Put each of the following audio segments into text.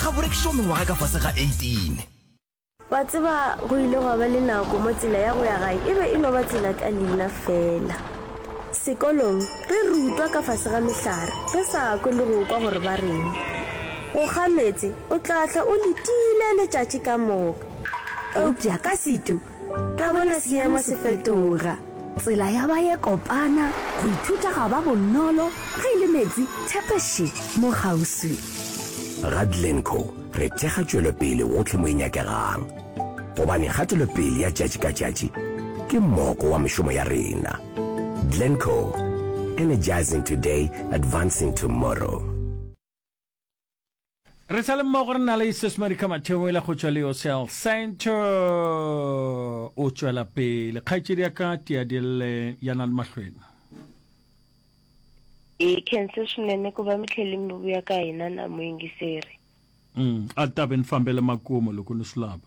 Ga bo rekišwa mengwaga ka fase ga 18. Wa tseba, go ile gwa ba le nako mo tsela ya go ya gae e be e no ba tsela ka leina feela. Sekolong, re rutwa ka fase ga mehlare, re sa kwe le go kwa gore ba reng. Go kga meetse, o tla hlwa o letile letšatši ka moka. Eupša ka setu, ra bona seemo se fetoga. Tsela ya ba ye kopana, go ithuta ga ba bonolo, ge e le meetse, tshepe še, mo kgauswi. Ga Glencoe re thekga tšwelopele gohle mo e nyakegang, gobane kgatelopele ya tšatši ka tšatši ke moko wa mešomo ya rena. Glencoe, energizing today, advancing tomorrow. Re sa le mmogo re na le Sis Marika Mathebola go tšwa Leo Cell Center. O tšwela pele. Kgaetšedi ya ka Tiadille ya na le mahlweng. Hi khense swinene ku va mi tlhele mi vuya ka hina na muyingiseri. Mm, a ta ve ni fambele makumu loko ni swi lava.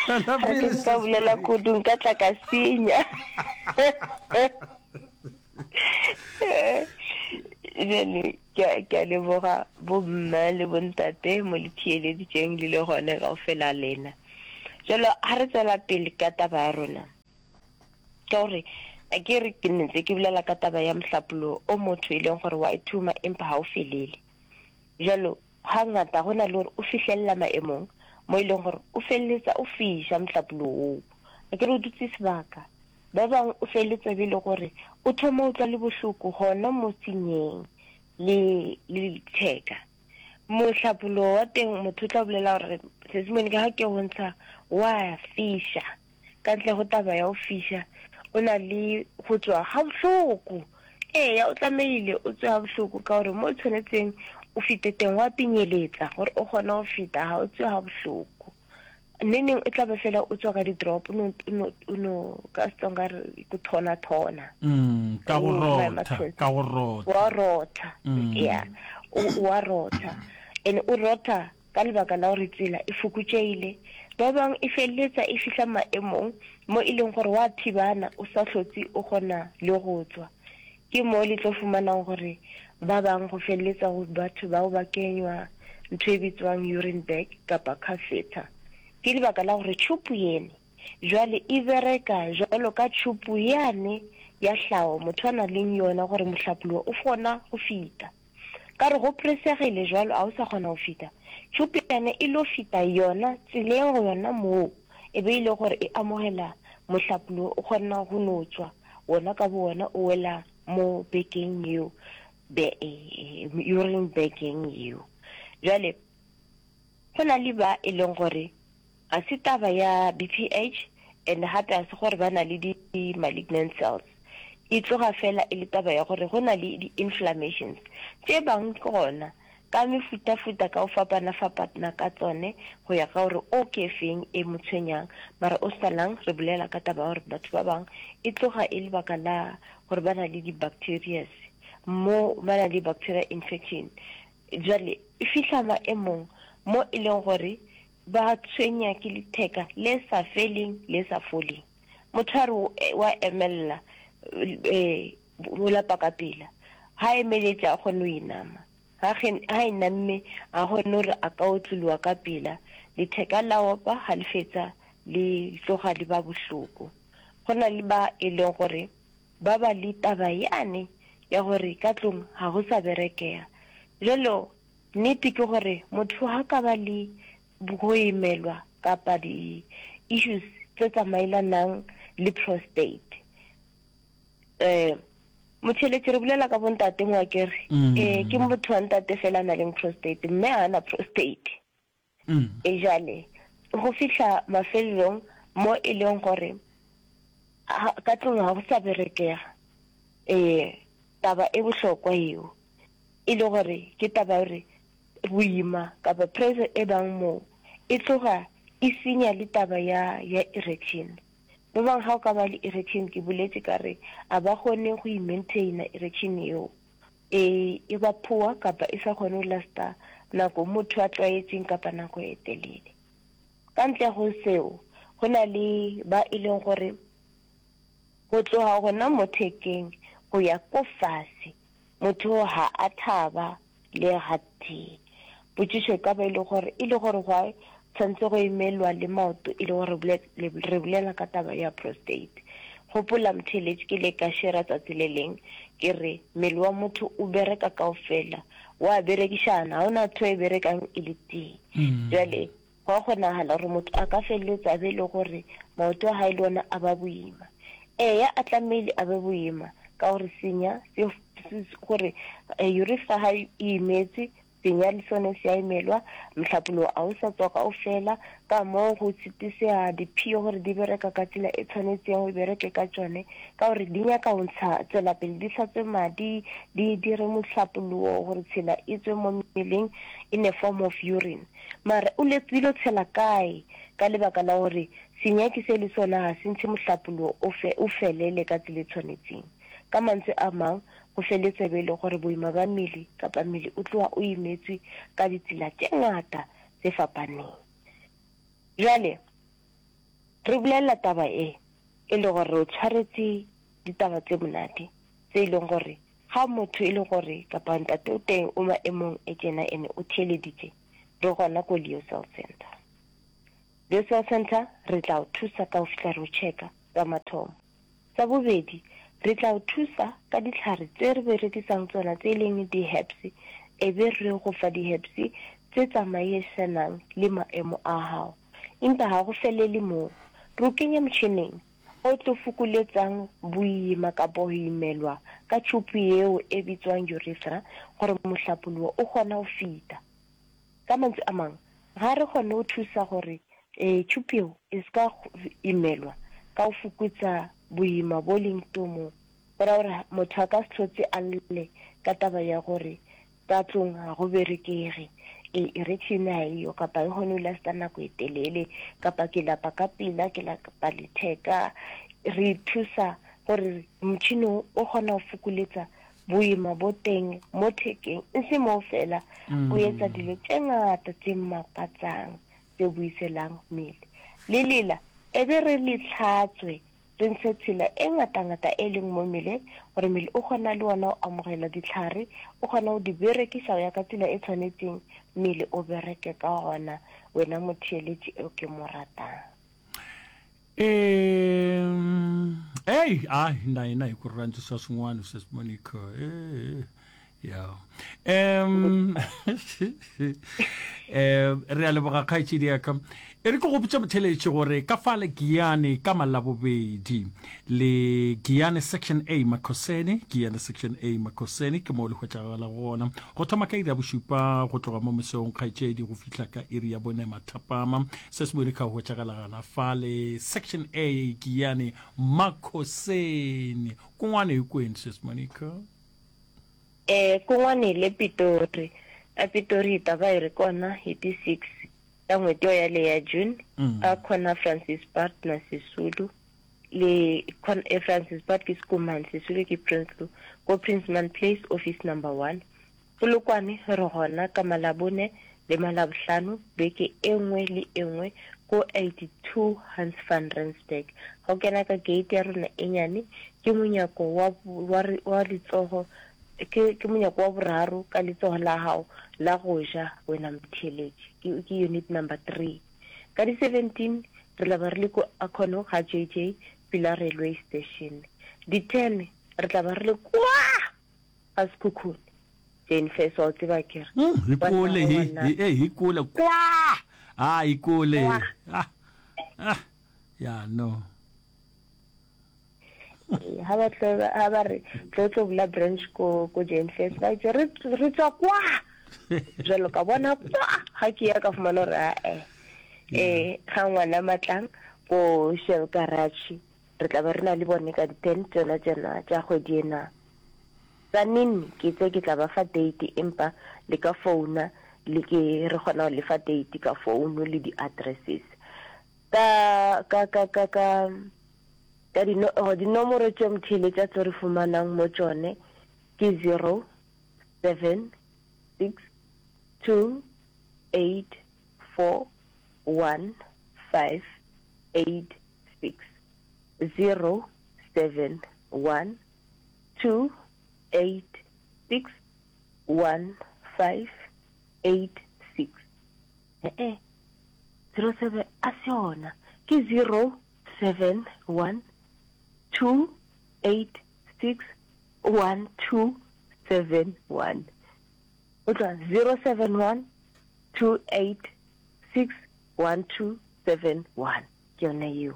Ga ke nka bolela kudu nka tla ka senya. Bjale ke a ke a leboga bomme le bontate mo le theeleditšeng le le gone kaofela lena. Jalo ha re tswela pele ka taba ya rona ka gore a ke re ke ntse ke bolela ka taba ya mohlapologo o motho e leng gore wa ithuma empa ha o felele. Jalo Hangata go na le gore o fihlelela maemong mo e leng gore o feleletsa o fiša mohlapologo woo. Akere o dutse sebaka. Ba bangwe o feleletsa be e le gore o thoma o utlwa le bohloko gona mo senyeng le le letheka. Mohlapologo wa teng motho o tla bolela gore Sesimone ka ga ke go ntsha wa fiša. Ka ntle go taba ya go fiša, o na le go tšwa gabohloko. Eya, o tlamehile o tswe gabohloko ka gore mo o tshwanetseng o fete teng wa pinyeletsa gore o kgone go feta, ga o tswe gabohloko. Neneng o tla be fela o tswa ka di-drop, o no, o no, o no, ka Setsonga re ku thona-thona. Mm, ka go rotha, ka go rotha. Wa rotha, ya, o wa rotha. And o rotha Ka lebaka la gore tsela e fokotšehile, ba bangwe e feleletsa e fihla maemong mo e leng gore wa thibana o sa hlotse o kgona le go tswa. Ke mo le tlo fumanang gore ba bangwe go feleletsa go batho bao ba kenywa ntho e bitswang urine bag kapa catheter. Ke lebaka la gore tšhupu yene jwale e bereka jwalo ka tšhupu yane ya hlago motho a na leng yona gore mohlapologo o kgona go fita. Ka re go presegile jwalo a o sa kgona go fita. Tšhupu yane e lo fita yona tseleng go yona moo e be e le gore e amogela mohlapologo o kgona go no tšwa wona ka bo wona o wela mo bekeng yeo be urine bekeng yeo. Jwale go na le ba e leng gore ga se taba ya BPH and gape ga se gore ba na le di malignant cells. E tloga fela e le taba ya gore go na le di inflammations tše bang gona ka mefutafuta ka go fapana-fapana ka tsone go ya ka gore o ke feng e mo tshwenyang. Mara o salang re bolela ka taba ya gore batho ba bang e tloga e lebaka la gore ba na le di-bacterias mo ba na le bacteria infection. Bjale e fihla maemong mo e leng gore ba tshwenya ke letheka le sa feleng le sa foleng. Motho a re wa emelela, o lapa ka pela. Ha emeletše a kgone go inama. Ha ha inamme a kgone gore a ka otlologa ka pela. Letheka la opa ha le fetsa le tloga le ba bohloko. Go na le ba e leng gore ba ba le taba yane ya gore ka tlong ga go sa berekega. Bjalo nnete ke gore motho ha ka ba le go imelwa kapa di issues tse tsamaelanang le prostate. Eh motheletši re bolela ka bontate mo akere. Mm. Eh ke motho wa ntate fela a na leng prostate mme ha na prostate. Mm. E jale go fihla mafelelong mo e leng gore ka tlong ga go sa berekega. Eh taba e bohlokwa eo e le gore ke taba ya gore boima kapa pressure e bang moo e tloga e senya le taba ya ya erection. Ba bang ga o ka ba le erection ke boletše ka re a ba kgone go e maintaina erection eo e e ba poor kapa e sa kgone go lasta nako motho a tlwaetseng kapa nako e telele. Ka ntle go seo go na le ba e leng gore. Go tloga gona mo thekeng go ya ko fase, motho ga a thaba le gatee. Potšišo e ka ba e le gore, e le gore gwa tshwanetse go emelwa le maoto e le gore re bolela ka taba ya prostate. Gopola motheeletši ke ile ka shera tsatsi le leng ke re mmele wa motho o bereka kaofela, wa berekišana, ga o na ntho e berekang e le tee. Bjale Go a kgonagala gore motho a ka feleletsa a be le gore maoto a gae le ona a ba boima. Eya, a tlamehile a be boima ka gore senya se, se, gore urethra ga e imetswe, senya le sone se a imelwa, mohlapologo a o sa tswa kaofela, ka moo go tshitisega diphio gore di bereka ka tsela e tshwanetseng go bereke ka tšone, ka gore di nyaka go ntsha tswela pele di hlatswe madi, di dire mohlapologo gore tshela e tswe mo mmeleng in a form of urine. Mara o le tsilo tshela kae ka lebaka la gore senyaki se le sona ga se ntshe mohlapologo o fe, o felele ka tsela e tshwanetseng. Ka mantswe a mang, go feletse be e le gore boima ba mmele kapa mmele o tloga o imetswe ka ditsela tše ngata tse fapaneng. Bjale, re bolelela taba e, e le gore re o tshwaretse ditaba tse monate tse e leng gore Ga motho e le gore kapa ntate o teng o maemong e tjena ene o theeleditše, re gona ko Leo Cell Center. Leo Cell Center re tla o thusa ka go fihla re o checka sa mathomo. Sa bobedi, re tla o thusa ka dihlare tse re berekisang tsona tse e leng di-herbs, e be re go fa di-herbs tse tsamaisanang le maemo a gago. Empa ga go felele moo, re o kenya motšhineng o tlo fokoletsang boima kapa ho imelwa ka tšhupu yeo e bitswang urethra gore mohlapologo o kgona go fita. Ka mantswe a mang, ga re kgone go thusa gore tšhupu yeo e se ka imelwa ka go fokotsa boima bo leng tomong, go ra gore motho a ka se hlotse a lle ka taba ya gore Ka tlong ga go berekege, e, erection ga eyo, kapa e kgone go lasta nako e telele, kapa ke lapa ka pela, ke lapa letheka. Re thusa gore motšhini o o kgona go fokoletsa boima bo teng mo thekeng, e se moo fela, o etsa dilo tše ngata tše makatsang tse buiselang mmele. Le lela e be re le hlatswe Re ntshe tshela e ngatangata e leng mo mmeleng gore mmele o kgona le wona go amogela dihlare, o kgona go di berekiša go ya ka tsela e tshwanetseng mmele o bereke ka gona, wena motheeletši eo ke mo ratang. Um, ei, a na yena hi ku rhandzisa swin'wana sesi Monica. Eh, ya. Um, um re a leboga kgaetšedi ya ka. E re ke go botša motheletši gore ka fale Giyani ka Malabobedi le Giyani Section A Makhoseni, Giyani Section A Makhoseni ke moo le hwetšagala gona. Go thoma ka iri ya bošupa go tloga mo mesong kgaetšedi go fihla ka iri ya bone mathapama. Se se bone ka hwetšagala gana fale Section A Giyani Makhoseni. Kungwane hikwenu sis Monica? Eh, kun'wana hi le Pitori. A Pitori hi ta va hi ri kona hi ti 6 ta n'hweti yo yaleyo ya June, a corner Francis Baard na Sisulu. Le eh, Francis Baard ke Schoeman, Sisulu ke Prinsloo, ko Princeman Place, office number 1. Polokwane re gona ka Malabone le Malabohlano beke e nngwe le e nngwe ko 82 Hans van Rensburg. Ga o kena ka gate ya rona e nyane, ke monyako wa, wa, wa letsogo, ke, ke monyako wa boraro ka letsogo la gago la go ja, wena motheeletši. Ke, ke unit number 3. Ka di 17 re tla ba re le ko Akono ga JJ pela railway station. Di 10 re tla ba re le kwa ga Sekhukhune. Jane Fess wa o tseba ke re. Mm, hi kule hi hi eh hi kule kwa. Ah hi kule. Ah. Ah. Ya no. Ha ba tlo ha ba re tlo tlo bula branch ko ko Jane Fess ba itse re re tswa kwa. Jalo ka bona kwa ha ke ya ka fumana hore a eh eh ga ngwana matlang ko Shell Garage re tla ba re na le bone ka di 10 tsona tsena tša kgwedi ena. Tsanini ke itse ke tla ba fa date empa le ka founa le ke re kgona go le fa date ka founu le di addresses ka ka ka ka ka ka di no oh, dinomoro tše motheeletša tlo re fumanang mo tšone ke 0 7 6 2 8 4 1 5 8 6 0 7. 7 1 2 8 6 1 5 8 6. E-e, 07 a se yona, ke 0 7 1 2 8 6 1 2 7 1. O tloga 0 7 1 2 8 6 1 2 7 1. Ke yona yeo.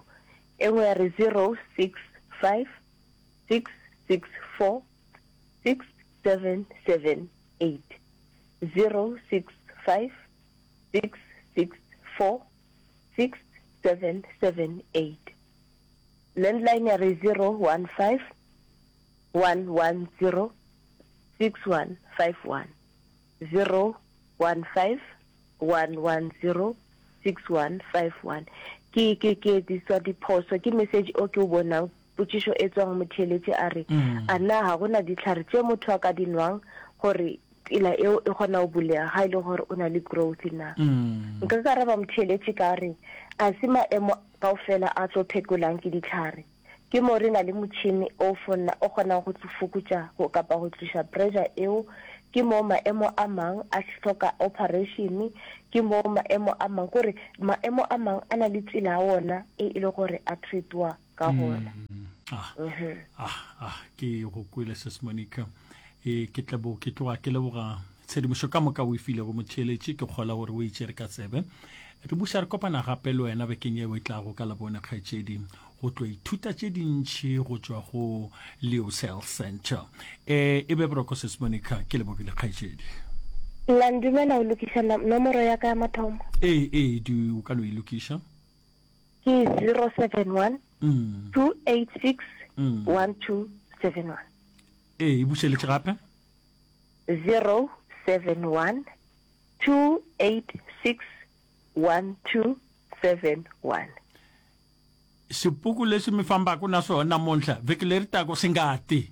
E nngwe ya re 0 6 5 6 6 4 6 7 7 8. 0 6 5 6 6 4 6 7 7 8. Landline ya re 0 1 5 1 1 0 6 1 5 1. 0 1 5 1 1 0 6 1 5 1. Ke, ke, ke etsiswa diphoso ke message o ke o bonang, potšišo e tswang motheeletši a re, A na ga go na dihlare tše motho a ka di nwang gore tsela eo e kgona go bulega ga e le gore o na le growth na? Nka ka araba motheeletši ka re, A se maemo kaofela a tlo phekolang ke dihlare. Ke mo re na le motšhene o fonna o kgonang go fokotša go kapa go tloša pressure eo. Ke mo maemo a mang a hloka operation. Ke mo maemo a mang, kore maemo a mang a na le tsela ya wona e e le gore a treatwa ka gona. Ah, ah, ah, ke go kwele Sis Monica. E, ke tlebo, ke tloga ke leboga tshedimošo ka moka o e filego motheeletši. Ke kgola gore o e tšere ka tsebe. Re buša re kopana gape le wena bekeng yeo e tlago ka Labone, kgaetšedi, go tlo ithuta tše dintši go tšwa go Leo's Health Center. E, e be boroko Sis Monica, ke lebogile kgaetšedi. La ndumela go lokiša nomoro ya ka ya mathomo? Ee, ee, di, o ka no e lokiša. Ke 071 286 1271. Ee, e bušeletše gape. 071 286 1271. Xipuku lexi mi fambaka na swona namuntlha vhiki leri taka swi nga ti.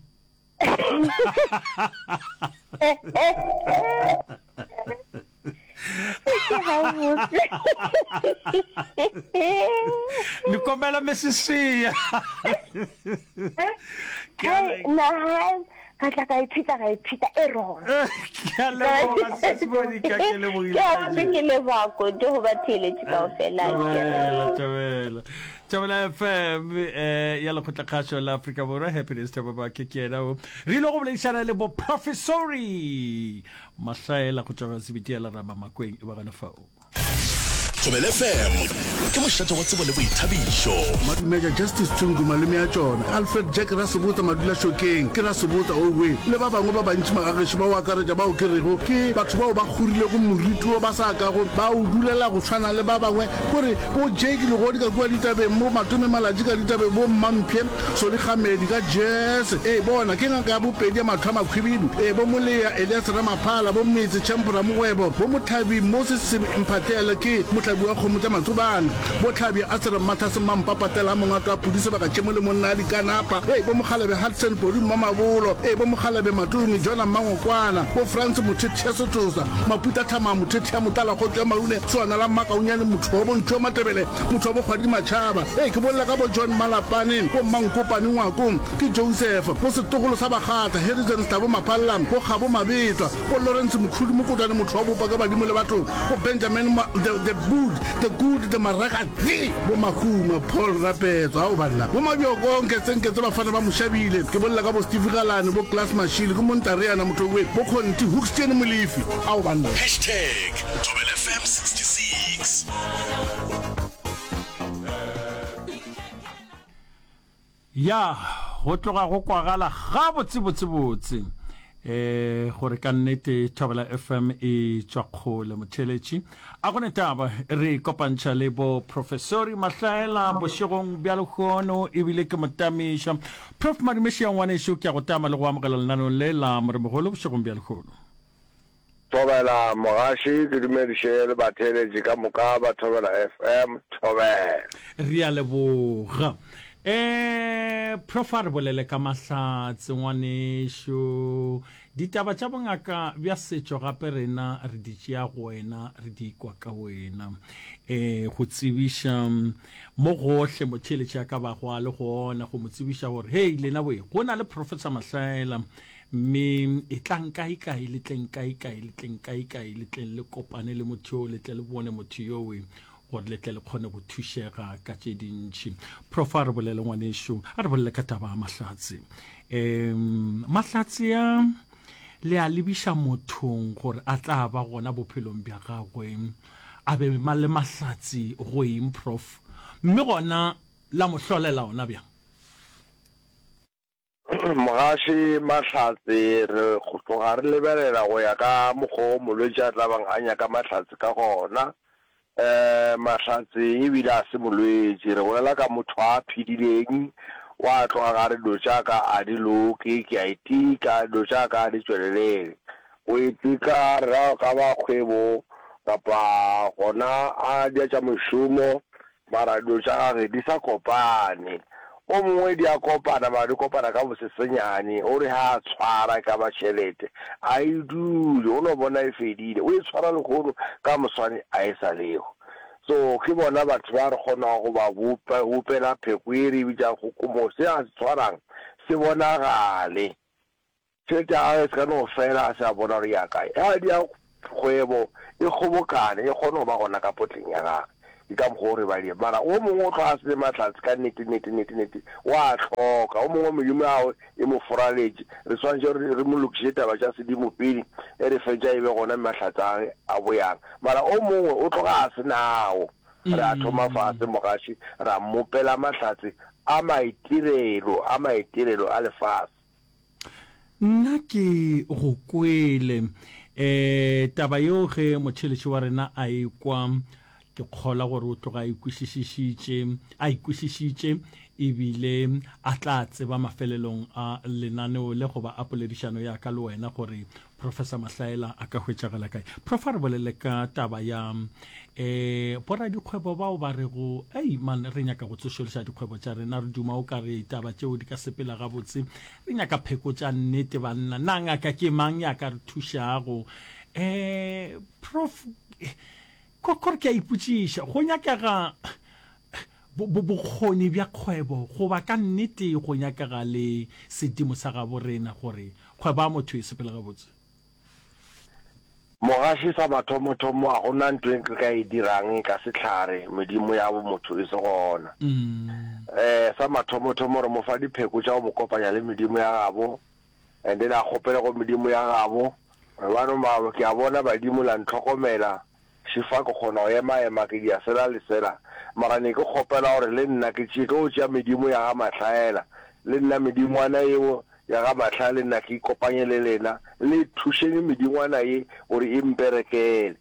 Ni kombela mi swi siya. Ka tla ka iphita ka iphita e wrong. Ke a leboga Sis Monica, ke lebogile. Ke a ke leboga kudu go batheeletši kaofela. Thobela, thobela. Thobela FM eh, ya Lekgotlakgašo la Afrika Borwa, Happiness Thababake ke yena o. Re ile go boledišana le bo Professori Mahlaela go tšwa Sebiti ya Lerama Makweng e ba gona fao. Thobela FM ke mošate wa tsebo le boithabišo. Madumeja Justice Tshungu malome a tšona, Alfred Jack Rasebotsa Madulašokeng ke Rasebotsa Owe le ba bangwe ba bantši magagešo ba go akaretša bao ke rego ke batho bao ba kgorilego moriti wo ba sa kago ba o dulela go tshwana le ba bangwe kore bo Jake Legodi ka kua ditabeng bo Matome Malatji ka ditabeng bo Mmamphe Solly Kgamedi ka Jazz ee bona ke ngaka ya bopedi ya mahlo a makhwibidu ee bo Molea Elias Ramaphala bo Metse Champ Ramogwebo bo Mohlabi Moses Mphahlele ke mohlabi wa kgomo tša Matsobane bo Hlabja Asere Mmathase Mmampa Patela Mongato a Pudi Sebaka Tšhemo le monna a Dikanapa ee bo Mokgalabje Hudson Podi Mmamabolo ee bo Mokgalabje Matome Jona Mmangokwana bo Frans Mothethe Setosa Maputa Thamang Mothethe ya Motala Kgotso ya Maune Soana la Mmakaunyane Motho wa bo Ntšhu wa Matebele Motho wa bokgwadi Matšhaba. Ee, ke bolela ka bo John Malapane, bo Mmankopane Ngwako, ke Joseph, bo setlogolo sa Bakgatla, Harrison Stabo Maphalla, bo Kgabo Mabetwa, bo Lawrence Mokhudu Mokotwane motho wa bopa ka badimo le batho, bo Benjamin Ma, the, the Good, the Good, the Maragatsi, bo Mahuma, Paul Rapetso, ao banna, bo Mabjoko, Nketsenketse bafana ba Moshabile, ke bolela ka bo Steve Galane, bo Klaas Mashile, ke Montareana motho we, bo Conti, Hoekstien Molefi, ao banna. Hashtag Thobela FM 66. Ya, go tloga go kwagala gabotsebotsebotse eh gore ka nnete Thobela FM e tšwa kgole motheeletši. A go ne taba re kopantšha le bo Professori Mahlaela bošegong bja lehono ebile ke motamiša. Prof Madumešia ngwanešo ke a go tama le go amogela lenaneong le la Moremogolo bošegong bja lehono. Thobela mogaši, ke dumediše le batheeletši ka moka ba Thobela FM. Thobela. Re a leboga. Eh, Prof a re bolele ka mahlatse ngwanešu. Ditaba tša bongaka bja setšo gape rena re di tšea go wena, re di kwa ka wena. Eh, go tsebiša mo gohle motheeletši a ka bago a le gona, go mo tsebiša gore hei lena boye, go na le Professor Mahlaela, mme etlang kae-kae, le tleng kae-kae, le tleng kae-kae, le tleng le kopane le motho yo, le tle le bone motho yowe. gore le tle le kgone go thušega ka tše dintši. Prof, a re bolele ngwanešu, a re bolele ka taba ya mahlatse. Um mahlatse a le a lebiša mothong gore a tla ba gona bophelong bja gagwe, a be le mahlatse go eng, Prof? Mme gona la mo hlolela ona bjang? Mogaši Mahlatse, Re go tloga re lebelela go ya ka mokgwa o molwetši a tla bang a nyaka mahlatse ka gona. Um Mahlatse e bile a se molwetši, re bolela ka motho a phedileng, wa tloga ga re dilo tša ka a di loke, ke a itika, dilo tša ka a di tšwelelele. Go itika re ra ka ba kgwebo kapa gona a dia tša mošomo, Mara dilo tša gage di sa kopane. O mongwe di a kopana mara di kopana ka bosesenyane. O re ha a tshwara e ka ba tšhelete, a e dule, o no bona e fedile. O e tshwara lehono, ka moswane a e sa lego. So ke bona batho ba re kgonago go ba bopa, bopela pheko ye re e bitšago kgokomo, se a se tshwarang se bonagale. Tšhelete ya gagwe e se ka no fela a se a bona gore e ya kae. Ge a dia kgwebo e kgobokane e kgone go ba gona ka potleng ya gagwe. Ke ka mokgwa o re ba dia. Mara o mongwe o tloga a se ne mahlatse ka nnete, nnete, nnete, nnete. O a hloka. O mongwe medimo ya gagwe e mo foraletše. Re swanetše gore re mo lokiše taba tša sedimo pele ge re fetša e be gona mahlatse a gagwe a boyang. Mara o mongwe o tloga a se nao. Re a thoma fase mogaši ra mmopela mahlatse a maitirelo, a maitirelo a lefase. Nna ke go kwele. E, taba yeo ge motšheletši wa rena a ekwa, ke kgola gore o tloga a ikwešišišitše, a ikwešišitše ebile a tla tseba mafelelong a lenaneo le goba a poledišano ya ka le wena gore Professor Mahlaela a ka hwetšagala kae. Prof, a re bolele ka taba ya eh boradikgwebo bao ba rego ei man re nyaka go tsošološa dikgwebo tša rena, re duma o ka re taba tšeo di ka sepela gabotse, re nyaka pheko tša nnete banna, na ngaka ke mang ya ka re thušago? Eh Prof, kore ke a ipotšiša, go nyakega bokgoni bja kgwebo goba ka nnete go nyakega le sedimo sa gabo rena gore kgwebo ya motho e sepele gabotse? Mogaši, Sa mathomothomo ga go na ntho e re ka e dirang ka sehlare medimo ya bo motho e se gona. Sa mathomothomo re mo fa dipheko tša go mo kopanya le medimo ya gabo and then a kgopele go medimo ya gabo gore bano ke a bona badimo la ntlhokomela Šifa ke kgona go ema-ema ke dia sela le sela, mara ne ke kgopela gore le nna ke tšee tlo tšea medimo ya ga Mahlaela, le nna medingwana yeo ya ga Mahlaya le nna ke ikopanye le lena, le thušeng medingwana ye gore e mperekele.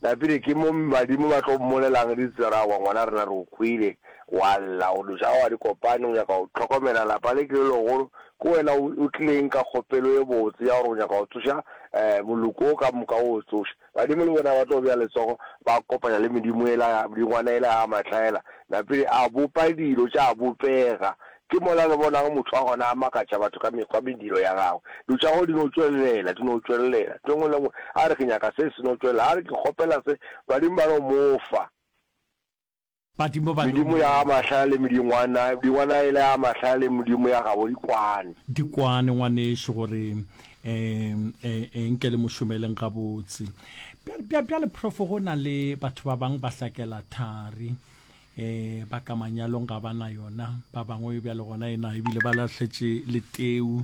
Napile ke mo badimo ba tlo mmolelang ditsela gore aowa ngwana rena re o kwele wa lla gore dilo tša gago ga di kopane, o nyaka go hlokomela lapa le ke le legolo, ke wena o tlileng ka kgopelo ye botse ya gore o nyaka go tsoša moloko o ka moka o o tsoše. Badimo le bona ba tlo bea letsogo, ba kopanya le medimo yela, medingwana yela ya mahlaela. Napile a bopa dilo tša bopega. Ke mola re bonago motho wa gona a makatša batho ka mekgwa mediro ya gagwe. Dilo tša gagwe di no tšwelela, di no tšwelela. Ntho e nngwe le e nngwe, a re ke nyaka se, se no tšwelela. A re ke kgopela se, badimo ba no mo fa. Badimo ba Medimo ya mahlale le medingwana, medingwana yela ya mahlale le medimo ya gabo di kwane. Di kwane, ngwanešu, gore um e nke le mo šomeleng gabotse. Bjale, bjale, Prof, go na le batho ba bangwe ba hlakela thari, um ba ka manyalong ga ba na yona, ba bangwe bjale gona e na ebile ba lahletše le teu.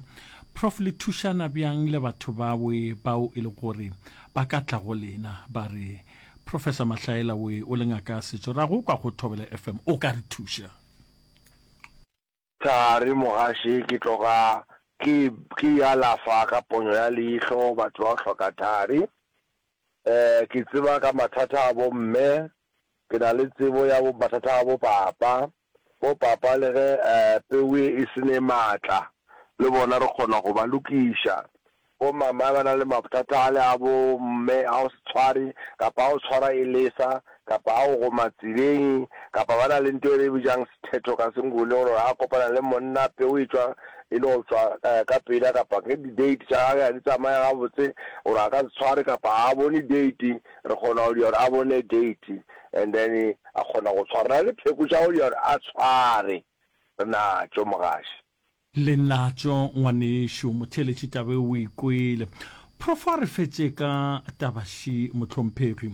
Prof, le thušana bjang le batho bawe bao e le gore ba ka tla go lena ba re, Professor Mahlaela we o le ngaka ya setšo ra go kwa go Thobela FM o ka re thuša? Thari mogaši ke tloga ke ke alafa ka ponyo ya leihlo batho ba go hloka thari. Eh ke tseba ka mathata a bo mme, ke na le tsebo ya bo mathata a bo papa. Bo papa le ge peu e se ne maatla, le bona re kgona go ba lokiša. Bo mama ba na le mathata ale a bo mme a go se tshware kapa a go tshwara e lesa. kapa a go goma tseleng, kapa ba na le nto e re e bitšang sethetho ka Senguni, gore a kopana le monna peu e tšwa e no tšwa ka pela, kapa ge di-date tša gage ga di tsamaye gabotse, gore a ka se tshware kapa ga a bone date, re kgona go dira gore a bone date and then a kgona go tshwara. Re na le pheko tša go dira gore a tshware, re natšo mogaši. Le natšo ngwanešu motheeletši taba e o e kwele. Prof a re fetše ka taba še mohlomphegi.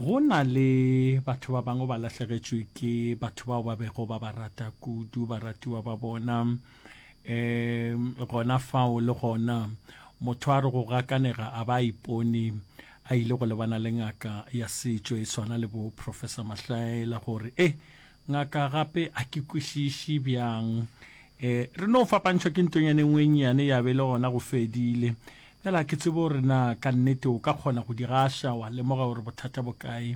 Go na le batho ba bangwe ba lahlegetšwe ke batho bao ba bego ba ba rata kudu, baratiwa ba bona. Um gona fao le gona motho a re go gakanega a ba a ipone a ile go lebana le ngaka ya setšo e swana le bo Professor Mahlaela gore e Ngaka gape a ke kwešiše bjang. E, re no fapantšhwa ke ntonyana e nngwe e nnyane ya be le gona go fedile. Bjale a ke tsebe gore na ka nnete o ka kgona go di gaša wa lemoga gore bothata bo kae,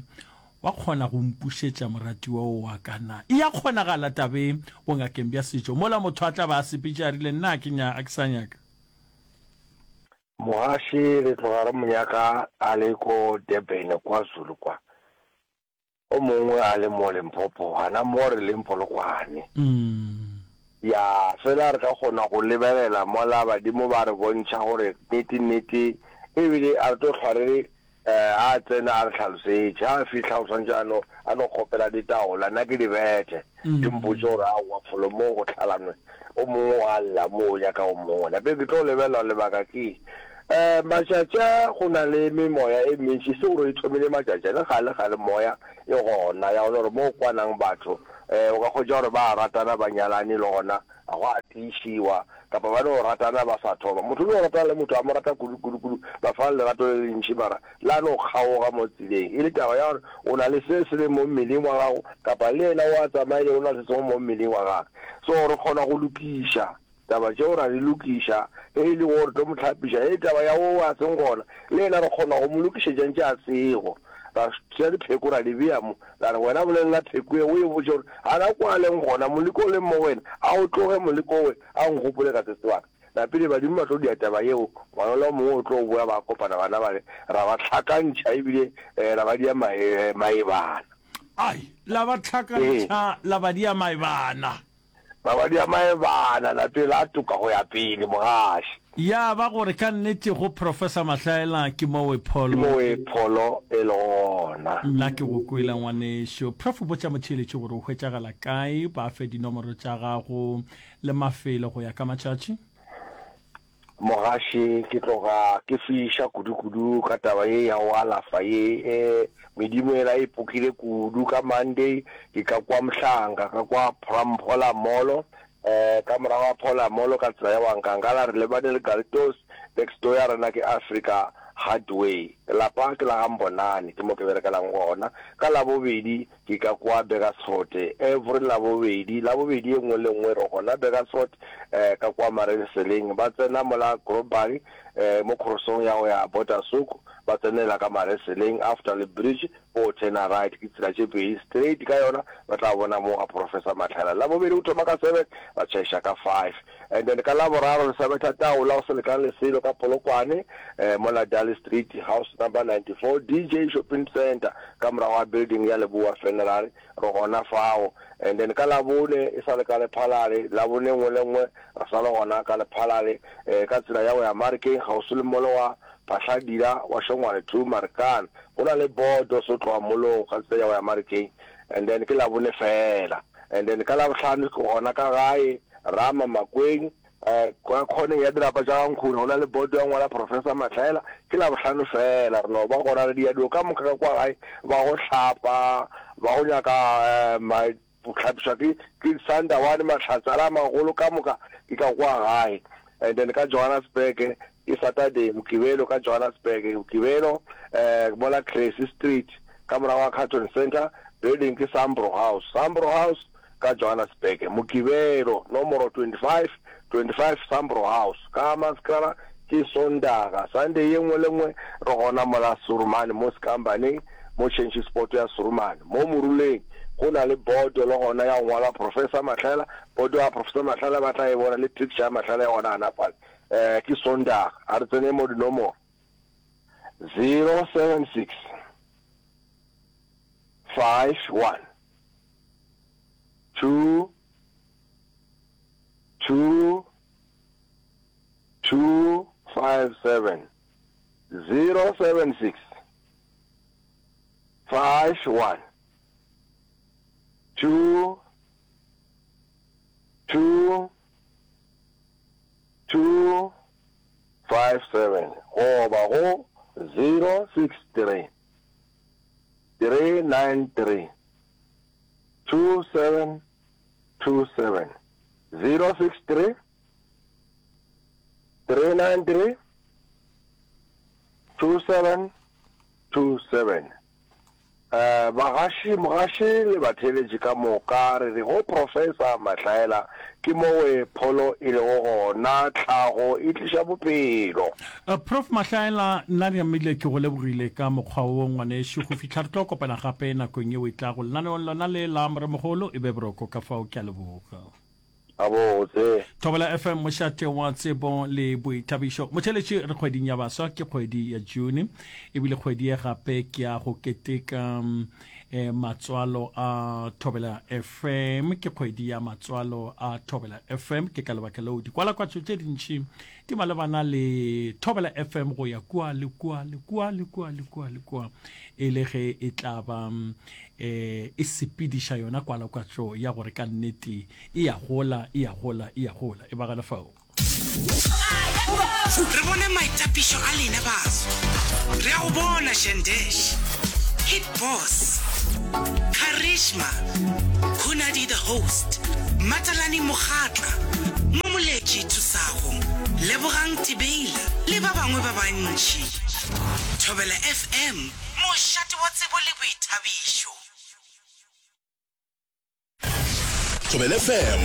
wa kgona go mpušetša moratiwa o wa ka na. E a kgonagala taba e bongakeng bja setšo mola motho a tla ba a sepetše a rile nna a ke nya, a ke sa nyaka. Mogaši re tloga re mo nyaka a le ko Durban, kwaZulu kwa. O mongwe a le mo Limpopo, gana mo re leng Polokwane. Ya, fela re ka kgona go lebelela mola badimo ba re bontšha gore nnete nnete, ebile a re tlo hlwa re re a a tsena a re hlalosetše. Ha a fihla o swanetše a no, a no kgopela ditaola, nna ke di bethe, di mpotše gore aowa folo mo go hlalanwe, o mongwe o a lla mo o nyaka o mongwe. Napile ke tlo lebelela lebaka ke eng. Um matšatši a go na le memoya e mentši, e se gore e thomile matšatši a, le kgale kgale moya e gona ya gona gore mo go kwanang batho um o ka hwetša gore ba a ratana ba nyalane le gona ga go a tiišiwa kapa ba no ratana ba sa thoma. Motho o no ratana le motho a mo rata kudu kudu kudu ba fana lerato le lentši mara la no kgaoga mo tseleng e le taba ya gore o na le se se leng mo mmeleng wa gago kapa le yena o a tsamaile o na le se sengwe mo mmeleng wa gagwe. So re kgona go lokiša Taba tšeo ra di lokiša, ge e le wo re tlo mo hlapiša, ge taba ya wo a seng gona, le yena re kgona go mo lokišetša ntše a sego. Ra tšea dipheko ra di bea mo, ra re, Wena bolelela pheko ye, o e botše gore gana kwa a leng gona, moleko o leng mo go yena, a o tloge moleko owe, a nkgopole ka se sebaka. Napile badimo ba tlo dia taba yeo, ngwana ola o mongwe o tlo boa ba kopana bana bale, ra ba hlakantšha ebile ra ba dia maebana. Ai, la ba hlakantšha la ba dia maebana. Mabadi a maebana lapeng la toka go ya pele, mogaši. Ya ba gore ka nnete go Professor Mahlaela ke mowe pholo. Ke mowe pholo e lego gona. Nna ke go kwele ngwanešo. Prof botša motheeletši gore o hwetšagala kae, ba fe dinomoro tša gago le mafelo go ya ka matšatši. Mogaši, ke tloga ke fiša kudu-kudu ka taba ye ya go alafa ye. E, medimo yela e pokile kudu. Ka Monday ke ka kwa Mhlanga, ka kwa Phola Molo, e, ka morago ga Phola Molo ka tsela ya Wankangala re lebane le Galtos, next door ya rena ke Africa Hardware. Lapa ke la ga Mbonane, ke mo ke berekelang gona. Ka Labobedi Ke ka kwa Burgersfort every Labobedi, Labobedi ye nngwe le nngwe re gona Burgersfort eh, ka kwa marenseleng. Ba tsena mola Grobari eh, mo crossong ya go ya Botasuk, ba tsenela ka marenseleng after le bridge o turna right, ke tsela tše pedi straight ka yona ba tla bona mo ga Professor Matlhela. Labobedi o thoma ka seven ba tšhaiša ka five. And then ka Laboraro re sa betha taola go se lekane le selo ka Polokwane eh, mola Dali Street, house number 94, DJ Shopping Centre, ka morago ga building ya Lebowa Funerary, re gona fao. And then ka Labone e sa le ka Lephalale, Labone e nngwe le nngwe re sa le gona ka Lephalale eh, ka tsela ya go ya Marikeng, kgauswi le molo wa Phahladila wa Shongwane 2 Marikana. Go na le bodo se tloga molong ka tsela ya go ya Marikeng. And then ke Labone fela. And then ka Labohlano ke gona ka gae Rama Makweng, Kwa khoneng ya dirapa tša ga Nkguni go na le boto ya ngwala Professor Mahlaela. Ke Labohlano feela re no ba gona re dia dilo ka moka ka kwa gae, ba go hlapa, ba go nyaka go hlapišwa ke ke Sandawane, mahlatse a la magolo ka moka ke ka kwa gae. And then ka Johannesburg ke Saturday, Mokibelo ka Johannesburg, Mokibelo mola Cressy Street ka morago ga Carlton Centre, building ke Sambro House, Sambro House. ka Johannesburg, Mokibelo, nomoro 25, 25 Sambro House, ka Hammanskraal, ke Sontaga, Sunday, ye nngwe le nngwe, re gona mola Surumane, mo Sekambaneng, mo Change Spot ya Surumane. Mo moruleng, go na le boto le gona ya go ngwalwa Professor Mahlaela, boto ya Professor Mahlaela ba tla e bona le picture ya Mahlaela e gona gana fale. Eh, ke Sontaga. A re tseneng mo dinomoro. 076. 5 1 2 2 2 5 7 0 7 6 5 1 2 2 2 5 7 goba go 0 6 3 3 9 3 2 7 2 7 0 6 3 3 9 3 2 7 2 7 Bagaši, mogaši le batheeletši ka moka, re re go Professor Mahlaela, ke mowe pholo e lego gona, tlhago e tliša bophelo. Prof Mahlaela, nna Nyamile ke go lebogile ka mokgwa wo ngwanešu, go fihla re tlo kopana gape nakong yeo e tlago lenaneong lona le la Moremogolo, e be boroko ka fao, ke a leboga. Gabotse. Thobela FM, mošate wa tsebo le boithabišo. Motheeletši, re kgweding ya baswa, ke kgwedi ya June, ebile kgwedi ye gape ke ya go keteka eh, matswalo a Thobela FM, ke kgwedi ya matswalo a Thobela FM. Ke ka lebaka leo dikwalakwatšo tše dintši di malebana le Thobela FM go ya kua le kua le kua le kua le kua le kua, e le ge e tla ba eh, e sepediša yona kwalakwatšo ya gore ka nnete E a gola, e a gola, e a gola. E ba gana fao. Re bone maitapišo a lena baso. Re a go bona Shandesh, Hit Boss, Karishma, Hunadi the Host, Matalani Mokgatla, Momoletši Thusago, Lebogang Tibeila le ba bangwe ba bantši. Thobela FM, mošate wa tsebo le boithabišo. Thobela FM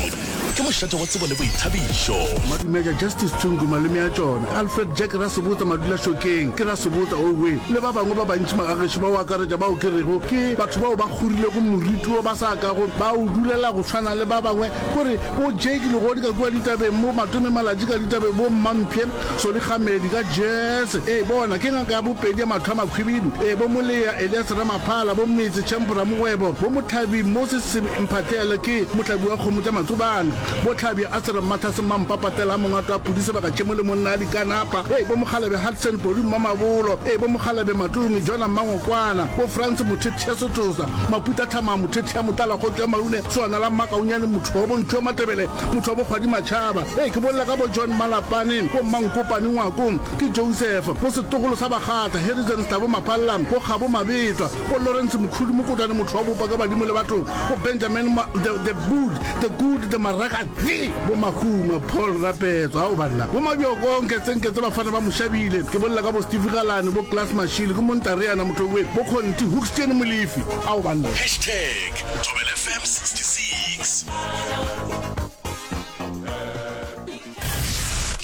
ke mošate wa tsebo le boithabišo. Madumeja Justice Tshungu malome a tšona, Alfred Jack Rasebotsa Madulašokeng ke Rasebotsa Owe le ba bangwe ba bantši magagešo ba o akaretša bao ke rego ke batho bao ba kgorilego moriti wo ba sa kago ba o dulela go tshwana le ba bangwe kore bo Jake Legodi ka kua ditabeng bo Matome Malatji ka ditabeng bo Mmamphe Solly Kgamedi ka Jazz ee bona ke ngaka ya bopedi ya mahlo a makhwibidu ee bo Molea Elias Ramaphala bo Metse Champ Ramogwebo bo Mothabi Moses Mphahlele ke mohlabi wa kgomo tša Matsobane bo Tlhabya Asser Mmathase Mmampapatela Mongwato wa Pudi Sebaka Tšhemo le monna a Dikanapa ee bo Mokgalabje Hudson Podi Mmamabolo ee bo Mokgalabje Matome Jona Mmangokwana bo Frans Mothethe Setosa Maputa Thamang Mothethe ya Motala Kgotso ya Maune Swana la Mmakaunyane Motho wa Bontšhu wa Matebele Motho wa Bokgwadi Matšhaba. Ee, ke bolela ka bo John Malapane, bo Mmankopane Ngwako, ke Joseph, bo setlogolo sa Bakgatla, Harrison Stabo Maphalla, bo Kgabo Mabetwa, bo Lawrence Mokhudu Mokotwane motho wa bopa ka badimo le batho, bo Benjamin Ma, the, the Good, the Good, the Maraka, the, bo Mahuma, Paul Rapetso, ao banna, bo Mabjoko, Nketsenketse bafana ba Moshabile, ke bolela ka bo Steve Galane, bo Klaas Mashile, ke Montareana Motho we, bo Kgonti, Hoekstien Molefi, ao banna. Hashtag Thobela FM 66.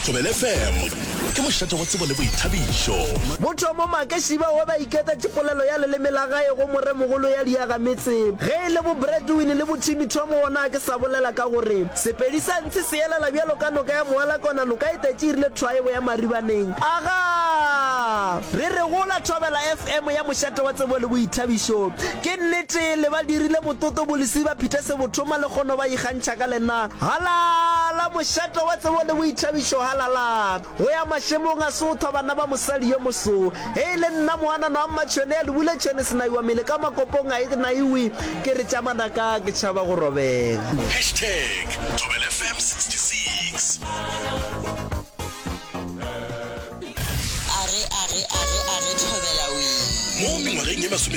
Thobela FM ke mošate wa tsebo le boithabišo. Bothomo Makešiba wa ba iketetše polelo ya leleme la gae go moremogolo ya diagametse. Ge e le bo Bradwin le bo Timmy Tom gona a ke sa bolela ka gore Sepedi sa ntshe se elela bjalo ka noka ya Moalakona noka e tetše e rile thwaebo ya Maribaneng. Agaa! Re re gola Thobela FM ya mošate wa tsebo le boithabišo. Ke nnete le ba dirile mototo bolesiba Peter Sebothoma le kgono ba ikgantšha ka lena. Halala mošate wa tsebo le boithabišo halala. Go ya mašemong a sothwa bana ba mosadi yo moso. Ge e le nna moanana wa Mmatšhwene ya Lebule tšhwene senaiwa mele ka makopong a e naiwe ke re tša manaka ke tšhaba go robega. Hashtag Thobela FM 66. Age, age, age, age, thobela wee. Mo mengwageng ye masometshela.